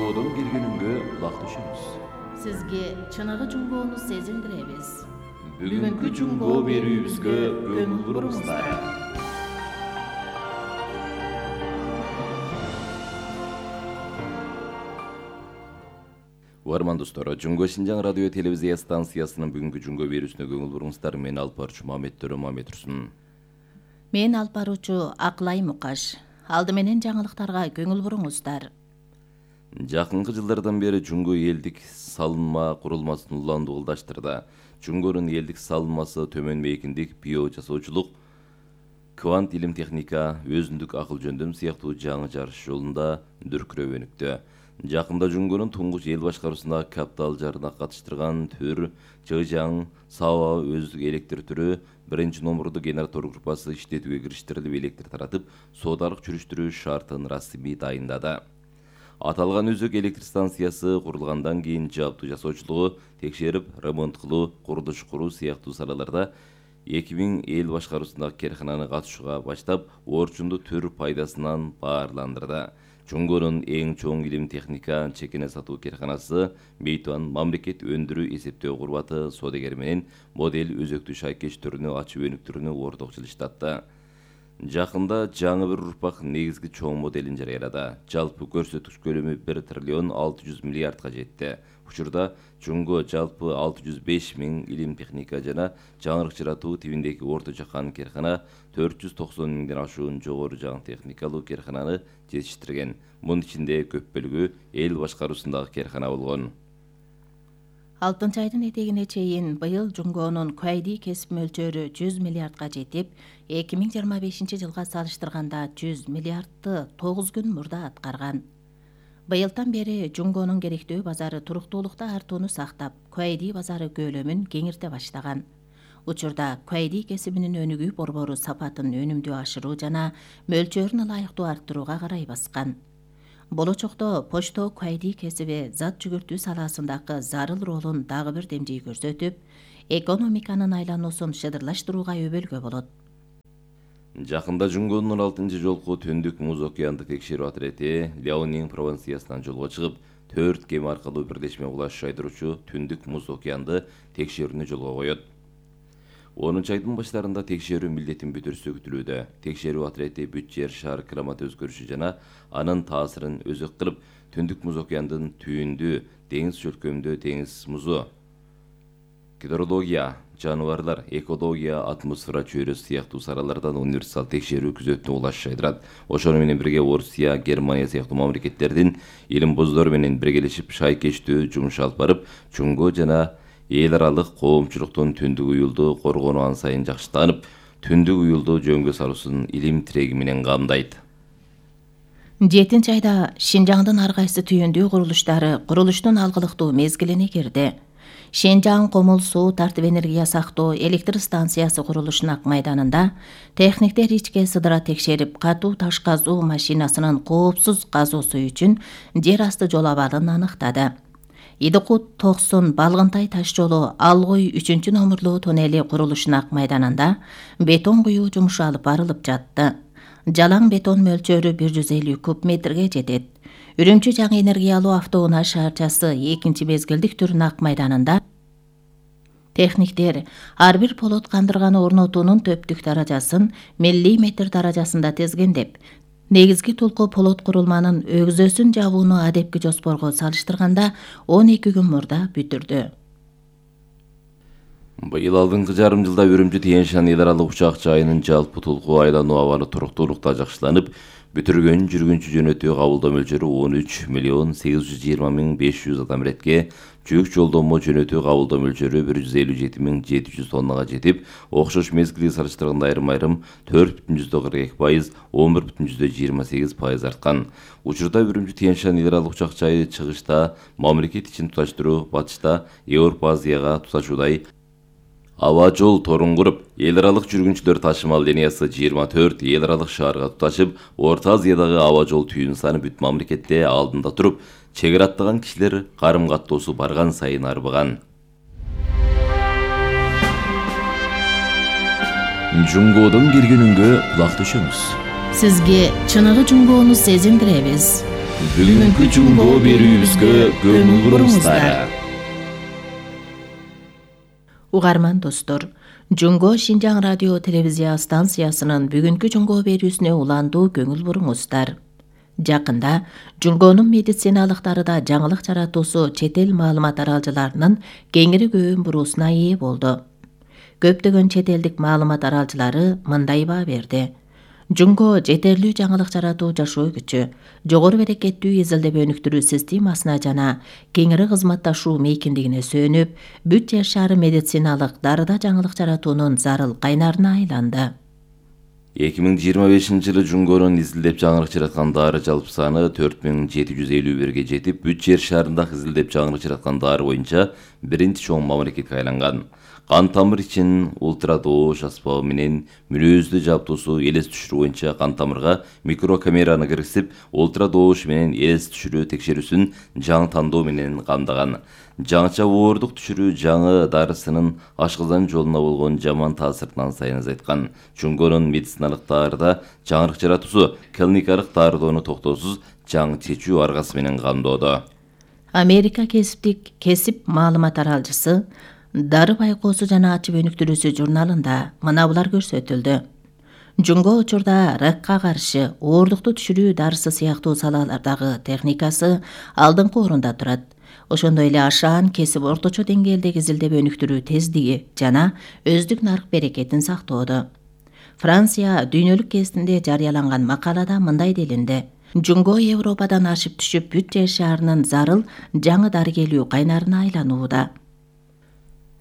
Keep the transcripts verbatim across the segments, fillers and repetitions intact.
Жунгоодон келгенүнгө кулак түшүңүз. Сизге чыныгы жунгоону сезиндиребиз. Бүгүнкү жунгоо берүүбүзгө көңүл буруңуздар. Угарман достор, Жунгоо Шинжаң радио телевизия станциясынын бүгүнкү жунгоо берүүсүнө көңүл буруңуздар. Мен алып баруучу Мамет Төрө Мамет Турсун. Мен алып баруучу Акылай Мукаш. Алды менен жаңылыктарга көңүл буруңуздар. Жакынкы жылдардан бери Жунгоо элдик салынма курулмасын уланды колдаштырды. Жунгоонун элдик салынмасы төмөн мейкиндик, био жасоочулук, квант илим техника, өзүндүк акыл жөндөм сыяктуу жаңы жарыш жолунда дүркүрөп өнүктү. Жакында Жунгоонун туңгуч эл башкаруусуна капитал жарына катыштырган төр Чыжаң Саба өздүк электр түрү биринчи номурду генератор группасы иштетүүгө кириштирилип, электр таратып, соодалык жүрүштүрүү шартын расмий дайындады. Аталган өзөк электр станциясы курулгандан кийин жабдуу жасоочулугу, текшерип, ремонт кылуу, курулуш куруу сыяктуу салаларда эки миң эл башкаруусундагы керкананы катышууга баштап, орчунду төр пайдасынан баарландырды. Жунгоонун эң чоң илим техника чекене сатуу керканасы Мейтуан мамлекет өндүрүү эсептөө курбаты соодагер менен модель өзөктүү шайкеш түрүнү ачып өнүктүрүүнү ортокчул иштатты. Жакында жаңы бир урпак негизги чоң моделин жарыялады. Жалпы көрсөткүч көлөмү бир триллион алты жүз миллиардга жетти. Учурда Жунгоо жалпы алты жүз беш миң илим техника жана жаңырык жаратуу тибиндеги орто жакан керкана, төрт жүз токсон миңден ашуун жогору жаңы техникалуу керкананы жетиштирген. Мунун ичинде көп бөлүгү эл башкаруусундагы керкана болгон. Алтынчы айдын этегине чейин быйыл Жунгоонун куайди кесип мөлчөрү жүз миллиардга жетип, эки миң жыйырма бешинчи жылга салыштырганда жүз миллиардты тогуз күн мурда аткарган. Быйылдан бери Жунгоонун керектөө базары туруктуулукта артууну сактап, куайди базары көлөмүн кеңирте баштаган. Учурда куайди кесибинин өнүгүү борбору сапатын өнүмдүү ашыруу жана мөлчөрүн ылайыктуу арттырууга карай баскан. Болочокто почто куайди кесиби зат жүгүртүү салаасындагы зарыл ролун дагы бир демжей көрсөтүп, экономиканын айлануусун шыдырлаштырууга өбөлгө болот. Жакында Жунгоонун алтынчы жолку түндүк муз океандык текшерүү отряди Ляонин провинциясынан жолго чыгып, төрт кеме аркылуу бирлешме кулаш жайдыруучу түндүк муз океанды текшерүүнү жолго коет. онунчу айдын баштарында текшерүү милдетин бүтүрүшү күтүлүүдө. Текшерүү отряди бүт жер шар климат өзгөрүшү жана анын таасирин өзөк кылып, түндүк муз океандын түйүндү, деңиз чөлкөмдө деңиз музу, гидрология, жаныбарлар, экология, атмосфера чөйрөсү сыяктуу салалардан универсал текшерүү күзөтүүнү улаш жайдырат. Ошону менен бирге Орусия, Германия сыяктуу мамлекеттердин илим боздору менен биргелешип шайкештүү жумуш алып барып, Жунгоо жана эл аралык коомчулуктун түндүк уюлду коргонуу ан сайын жакшытанып, түндүк уюлду жөнгө салуусун илим тиреги менен камдайт. жетинчи айда Шинжаңдын ар кайсы түйүндүү курулуштары курулуштун алгылыктуу мезгилине кирди. Шинжаң Комул суу тартып энергия сактоо электр станциясы курулушунун ак майданында техниктер ичке сыдыра текшерип, катуу таш казуу машинасынын коопсуз казуусу үчүн жер асты жол абалын аныктады. Идыкут токсон Балгынтай таш жолу Алгой үчүнчү номурлуу туннели курулушунун ак майданында бетон куюу жумушу алып барылып жатты. Жалаң бетон мөлчөрү бир жүз элүү куб метрге жетет. Үрүмчү жаңы энергиялуу автоунаа шаарчасы экинчи мезгилдик түрүнүн ак майданында техниктер ар бир полот кандырганы орнотуунун төптүк даражасын миллиметр даражасында тезгендеп, негизги толку полот курулманын өгзөсүн жабууну адепки жоспорго салыштырганда он эки күн мурда бүтүрдү. Быйыл алдыңкы жарым жылда Үрүмчү Тянь-Шань эл аралык учак жайынын жалпы толку айлануу абалы туруктуулукта жакшыланып, бүтүргөн жүргүнчү жөнөтүү кабылдоо мөлчөрү он үч миллион сегиз жүз жыйырма миң беш жүз адам иретке, жүк жолдомо жөнөтүү кабылдоо мөлчөрү бир жүз элүү жети миң жети жүз тоннага жетип, окшош мезгилге салыштырганда айрым-айрым төрт бүтүн жүздөн кырк эки пайыз, он бир бүтүн жүздөн жыйырма сегиз пайыз арткан. Учурда Үрүмчү Тянь-Шань эл аралык учак жайы чыгышта мамлекет ичин туташтыруу, батышта Европа Азияга туташуудай аба жол торун куруп, эл аралык жүргүнчүлөр ташымал линиясы жыйырма төрт эл аралык шаарга туташып, Орто Азиядагы аба жол түйүн саны бүт мамлекетте алдында туруп, чек ара аттаган кишилер карым каттоосу барган сайын арбыган. Жунгоодон келгенүнгө кулак түшүңүз. Сизге чыныгы жунгоону сезиндиребиз. Бүгүнкү жумго берүүбүзгө көңүл буруңуздар. Угарман достор, Жумго Шинжаң радио телевизия станциясынын бүгүнкү жумго берүүсүнө уландуу көңүл буруңуздар. Жакында Жумгонун медициналык дарыда жаңылык жаратуусу чет эл маалымат аралжыларынын кеңири көбүн буруусуна ээ болду. Көптөгөн чет элдик маалымат аралжылары мындай баа берди. Жумго жетерлүү жаңылык жаратуу жашоо күчү, жогору берекеттүү изилдеп өнүктүрүү системасына жана кеңири кызматташуу мейкиндигине сөөнүп, бүт жер шаары медициналык дарыда жаңылык жаратуунун зарыл кайнарына айланды. эки миң жыйырма бешинчи жылы Жумгонун изилдеп жаңылык жараткан дары жалпы саны төрт миң жети жүз элүү бирге жетип, бүт жер шаарындагы изилдеп жаңылык жараткан дары боюнча биринчи чоң мамлекетке айланган. Кан тамыр ичин ультрадоош аспабы менен мүнөздү жабдуусу элес түшүрүү боюнча кан тамырга микрокамераны киргизип, ультрадоош менен элес түшүрүү текшерүүсүн жаңы тандоо менен камдаган. Жаңыча оордук түшүрүү жаңы дарысынын ашказан жолуна болгон жаман таасиринен сайын азайткан. Жумгонун медициналык дарыда жаңылык жаратуусу клиникалык дарыдоону токтоосуз жаңы чечүү аргасы менен камдоодо. Америка кесиптик кесип маалымат аралжысы Дары байкоосу жана ачып өнүктүрүүсү журналында мына булар көрсөтүлдү. Жумго учурда ракка каршы оордукту түшүрүү дарысы сыяктуу салалардагы техникасы алдыңкы орунда турат. Ошондой эле ашаан кесип орточо деңгээлдеги изилдеп өнүктүрүү тездиги жана өздүк нарк берекетин сактоодо. Франция дүйнөлүк гезитинде жарыяланган макалада мындай делинди. Жумго Европадан ашып түшүп бүт жер шаарынын зарыл жаңы дарыгелүү кайнарына айланууда.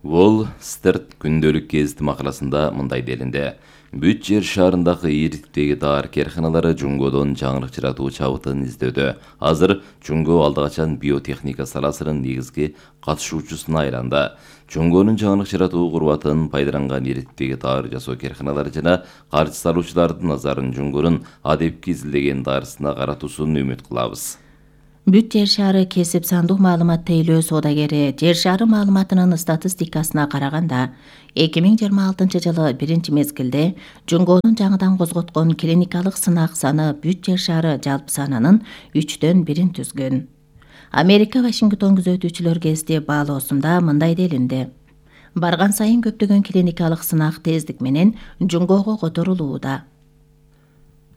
Wall Street күндөлүк гезити макаласында мындай делинди. Бүт жер шаарындагы ийгиликтеги дары керканалары Жумгодон жаңылык жаратуу чабытын издөдө. Азыр Жумго алда качан биотехника саласынын негизги катышуучусуна айланды. Жумгонун жаңылык жаратуу курбатын пайдаланган ийгиликтеги дары жасоо керканалары жана каржы салуучулардын назарын Жумгонун адепки изилдеген дарысына каратуусун үмүт кылабыз. Бүт жер шаары кесип сандуу маалымат тейлөө соодагери жер шаары маалыматынын статистикасына караганда, эки миң жыйырма алтынчы жылы биринчи мезгилде Жумгонун жаңыдан козготкон клиникалык сынак саны бүт жер шаары жалпы санынын үчтөн бирин түзгөн. Америка Вашингтон күзөтүүчүлөр гезити баалоосунда мындай делинди. Барган сайын көптөгөн клиникалык сынак тездик менен Жумгого которулууда.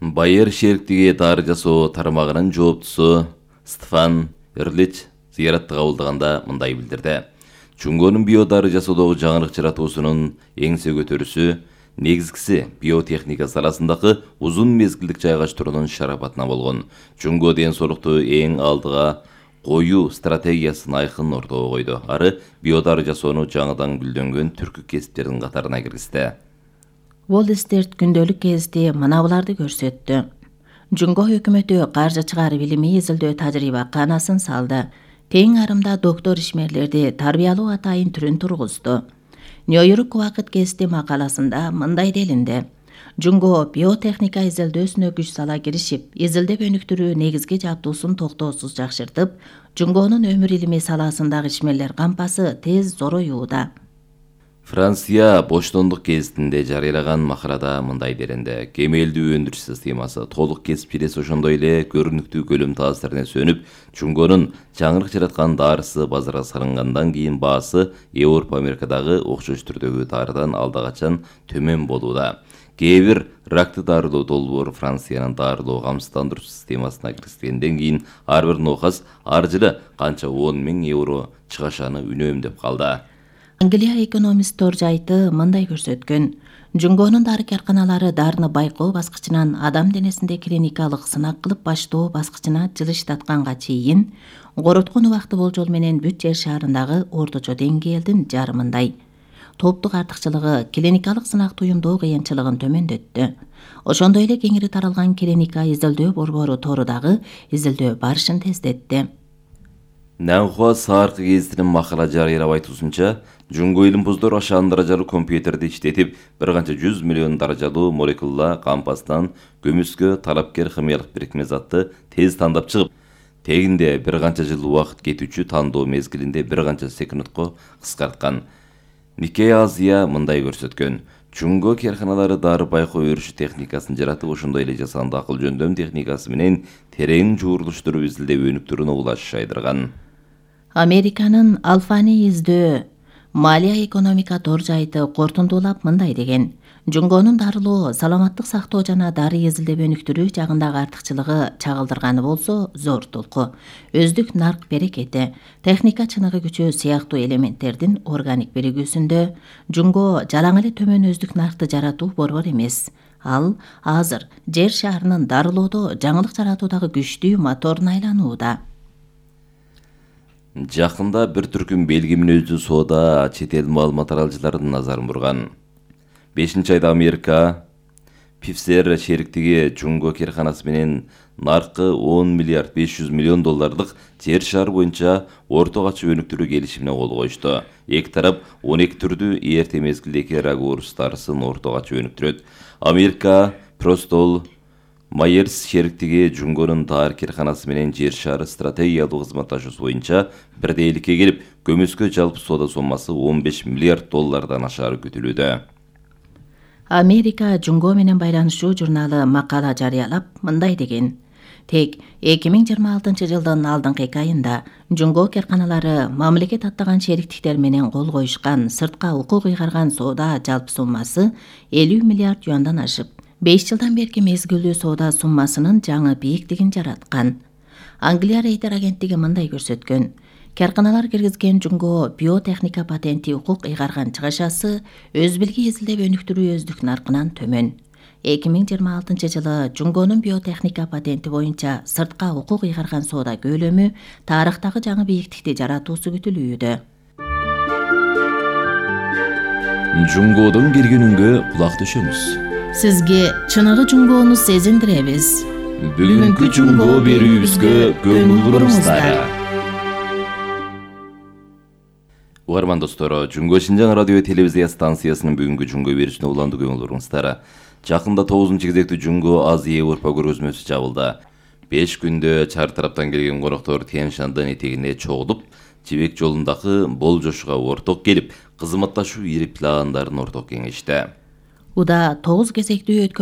Байер шериктиги дары жасоо тармагынын жооптусу Стефан Эрлич зыяратты кабылдаганда мындай билдирди. Жумгонун биодары жасоодогу жаңылык жаратуусунун эңсе көтөрүүсү негизгиси биотехника саласындагы узун мезгилдик жайгаштыруунун шарапатына болгон. Жумго ден соолукту эң алдыга коюу стратегиясын айкын ортого койду. Ары биодары жасоону жаңыдан гүлдөнгөн түркү кесиптердин катарына киргизди. Wall Street күндөлүк гезити мына буларды көрсөттү. Жумго өкмөтү каржычыгар билими изилдөө тажрыйба канасын салды. Тең арымда доктор ишмерлерди тарбиялоо атайын түрүн тургузду. Нью-Йорк убакыт гезити макаласында мындай делинди. Жумго биотехника изилдөөсүнө күч сала киришип, изилдеп өнүктүрүү негизги жабдуусун токтоосуз жакшыртып, Жумгонун өмүр илими саласындагы ишмерлер кампасы тез зороюуда. Франция Боштондук гезитинде жарыялаган макалада мындай делинди. Кемелдүү өндүрүш системасы толук кесипчилес ошондой эле көрүнүктүү көлөм таасирине сөнүп, Жумгонун жаңылык жараткан дарысы базарга салынгандан кийин баасы Европа Америкадагы окшош түрдөгү дарыдан алда качан төмөн болууда. Кээ бир ракты дарылоо долбоор Франциянын дарылоо камсыздандыруу системасына киргизгенден кийин ар бир нокас ар жылы канча он миң евро чыгашаны үнөмдөп калды. Англия экономист Торжайты мындай көрсөткөн. Жумгонун дары керканалары дарыны байкоо баскычынан адам денесинде клиникалык сынак кылып баштоо баскычына жылыштатканга чейин короткон убакты болжол менен бүт жер шаарындагы орточо деңгээлдин жарымындай. Топтук артыкчылыгы клиникалык сынак туюмдоо кыйынчылыгын төмөндөттү. Ошондой эле кеңири таралган клиника изилдөө борбору торудагы изилдөө барышын тездетти. Нанхуа Сааркы гезитинин макала жарыялап айтуусунча, Жумго илимпоздор ашаан даражалуу компьютерди иштетип, бир канча жүз миллион даражалуу молекула кампастан көмүскө талапкер химиялык бирикме затты тез тандап чыгып, тегинде бир канча жыл убакыт кетүүчү тандоо мезгилинде бир канча секундко кыскарткан. Никей Азия мындай көрсөткөн. Жунго карханалары дары байкоо өрүшү техникасын жаратып, ошондой эле жасанды акыл жөндөм техникасы менен терең жуурулуштуруп изилдеп өнүктүрүүнү улаш айдырган. Американын Алфаны издөө Малия экономика доржайты кортундуулап мындай деген: Жунгонун дарылоо, саламаттык сактоо жана дары изилдеп өнүктүрүү жагындагы артыкчылыгы чагылдырганы болсо зор толку. Өздүк нарк берекети, техника чыныгы күчү сыяктуу элементтердин органик биригүүсүндө Жунго жалаң эле төмөн өздүк наркты жаратуу борбор эмес. Ал азыр жер шарынын дарылоодо жаңылык жаратуудагы күчтүү моторуна айланууда. Жакында бир түркүм белги мүнөздүү соода чет эл маалымат аралыcıларынын назарын бурган. бешинчи айда Америка Pfizer шериктиги Жунго карханасы менен наркы он миллиард беш жүз миллион доллардык жер шары боюнча орто качып өнүктүрүү келишимине кол коюшту. Эки тарап он эки түрдүү эрте мезгилдеги рагуурус дарысын орто качып өнүктүрөт. Америка Простол Майерс шериктиги Жунгонун дары карханасы менен жер шары стратегиялык кызматташуусу боюнча бирдейликке келип, көмөскө жалпы соода соммасы он беш миллиард доллардан ашары күтүлүүдө. Америка Жунго менен байланышуу журналы макала жарыялап мындай деген: Тек эки миң жыйырма алтынчы жылдын алдыңкы эки айында Жунго карханалары мамлекет аттаган шериктиктер менен кол коюшкан сыртка укук ыйгарган соода жалпы суммасы элүү миллиард юандан ашып, беш жылдан берки мезгилдүү соода суммасынын жаңы бийиктигин жараткан. Англия Рейтер агенттиги мындай көрсөткөн: Карханалар киргизген Жунго биотехника патенти укук ыйгарган чыгышасы өз билги изилдеп өнүктүрүү өздүк наркынан төмөн. эки миң жыйырма алтынчы жылы Жунгонун биотехника патенти боюнча сыртка укук ыйгарган соода көлөмү тарыхтагы жаңы бийиктикти жаратуусу күтүлүүдө. Жунгодон келген үнгө кулак төшөмүз. Сизге чыныгы Жунгону сезиндиребиз. Бүгүнкү Жунго берүүбүзгө көңүл буруңуздар. Угарман достор, Жунго Шинжаң радио телевизия станциясынын бүгүнкү Жунго берүүсүнө уланды көңүл буруңуздар. Жакында тогузунчу кезектүү Жунго Азия Европа көргөзмөсү жабылды. беш күндө чар тараптан келген коноктор Тянь Шандын этегине чогулуп, жибек жолундагы болжошуга орток келип, кызматташуу ирип пландарын орток кеңешти. Уда тогуз кезектүү